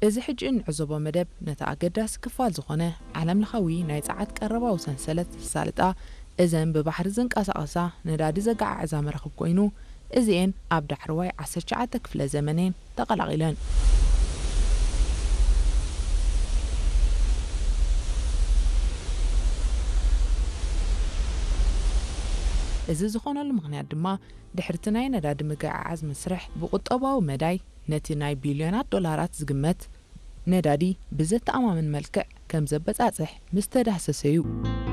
እዚ ሕጂ እንዕዘቦ መደብ ነቲ ኣገዳሲ ክፋል ዝኾነ ዓለምለኻዊ ናይ ጸዓት ቀረባዊ ሰንሰለት ዘሳልጣ፣ እዘን ብባሕሪ ዝንቀሳቐሳ ነዳዲ ዘገዓዕዛ መራኽብ ኮይኑ፣ እዚኤን ኣብ ዳሕረዋይ ዓሰርተ ትሽዓተ ክፍለ ዘመን እየን ተቐላቒለን። እዚ ዝኾነሉ ምኽንያት ድማ፣ ድሕርቲ ናይ ነዳዲ ምግዕዓዝ መስርሕ ብቁጠባዊ መዳይ ነቲ ናይ ቢልዮናት ዶላራት ዝግመት ነዳዲ ብዘተኣማምን መልክዕ ከም ዘበጻጽሕ ምስ ተዳህሰሰ እዩ።